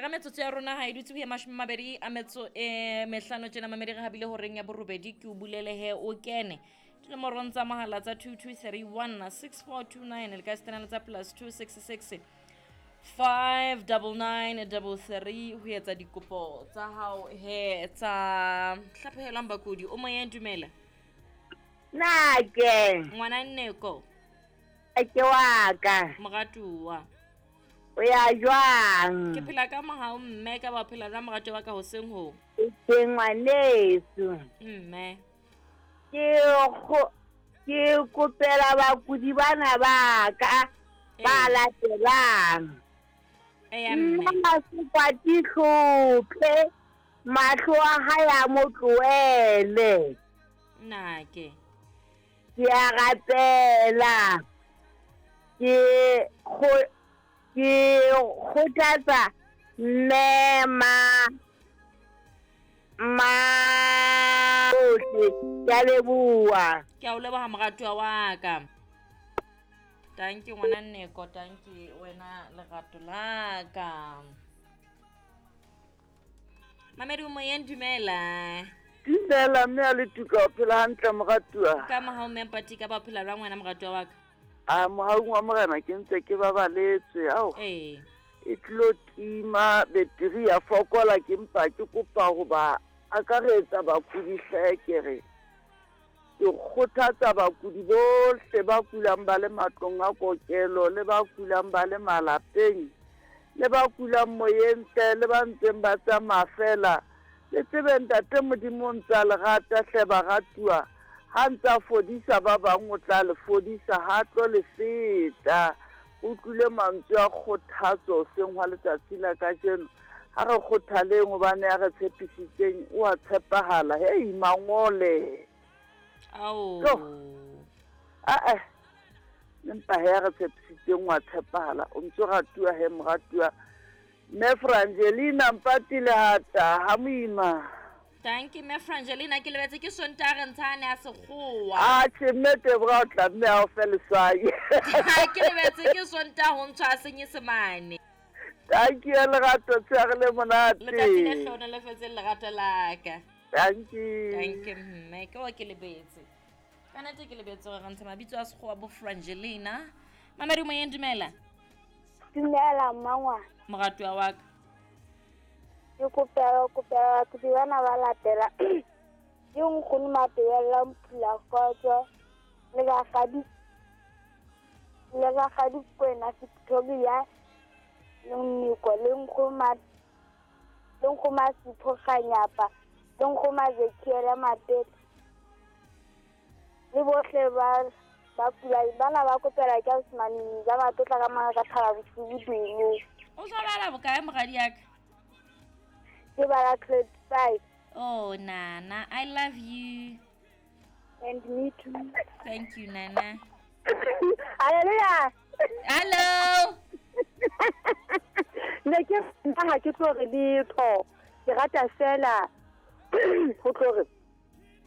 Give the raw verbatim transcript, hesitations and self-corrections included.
Ka metsotso ya rona ha e dutse ho ya mashome mabedi a metso e mehlano tjena mamedi re habile horeng ya borobedi ke o bulele he o kene. Dinomorong tsa mohala tsa two two three one six four two nine le ka setena le tsa plus two six six five double nine double three ho etsa dikopo tsa hao he tsa hlaphohelwang bakudi. O moyeng, dumela. Nake. Ngwana Nneko. Ke wa ka. Moratuwa. O ya jwang? Ke phela ka mohau mme, ka ba phela jwang moratuwa wa ka hoseng ho? Ke ngwaneso. Mme. Ke go ke kopela bakudi bana ba ka ba latelang. Eya mme. Nna sekwati hlophe mahlo a hae a mo tlohele. Nake. Ke a rapela. Ke go ke kgothatsa mme ma ma bohle. Ke a leboha. Ke a o leboha moratuwa wa ka. Thank you ngwana Nneko, thank you wena lerato la ka. Mamedi o moyeng, dumela. Dumela mme a le tuka, o phela hantle moratuwa. Ka mohau mme Mpati, ka ba o phela jwang wena moratuwa wa ka? A mohaung wa morena ke ntse ke babaletswe ao. Ee. E tlo tima beteri ya fokola ke mpa ke kopa ho ba akaretsa bakudi hle ke re. Ke kgothatsa bakudi bohle ba kulang ba le matlong a kokelo le ba kulang ba le malapeng le ba kulang moyeng hle le ba ntseng ba tsamaya fela. Le tsebe ntate Modimo o ntsa le rata hle baratuwa. Ha ntsa fodisa ba bang o tla le fodisa ha tlo le feta. O utlwile mantswe a kgothatso hoseng hwa letsatsi la kajeno. Ha re kgothaleng hobane ya re tshepisitseng o a tshepahala. Hei mangole. Ao. Ah eh. Empa he re tshepisitseng wa tshepahala. O ntso ratuwa he moratuwa. Mme Frangelina Mpati Lehata ha moima. Thank you mme Frangelina, ke lebetse ke Sontaha re ntshane a sekgowa. Ah che mme Tebogo o tla mme a o fe leswai. Ke lebetse ke Sontaha ho ntshwa senyesemane. Thank you lerato tshware le monate. Letsatsi le hlona le fetse lerato la ka. Thank you. Thank you mme, ke wa ke lebetse. Ka nnete ke lebetse hore re ntsha mabitso a sekgowa bo Frangelina. Mamedi moyeng, dumela. Dumela mmangwana. Moratuwa wa ka. Ke kopela kopela bakudi bana ba latela. Ke nkgono Matebella Mphula Kgotso le rakgadi le rakgadi Kwena Victoria le Nniko le nkgono le nkgono Sipho Kganyapa le nkgono Ezekiel Mapete le bohle ba ba kula bana ba kopela ke Osmane ba matotla ka mara ka thaba bosiu dumo. O sa bala bokae moradi ya ka? Ke bala grade five. Oh Nana, I love you. And me too. Thank you Nana. Hallelujah. Hello. Ne ke nna ha ke tlo re letho. Ke rata fela ho tlo re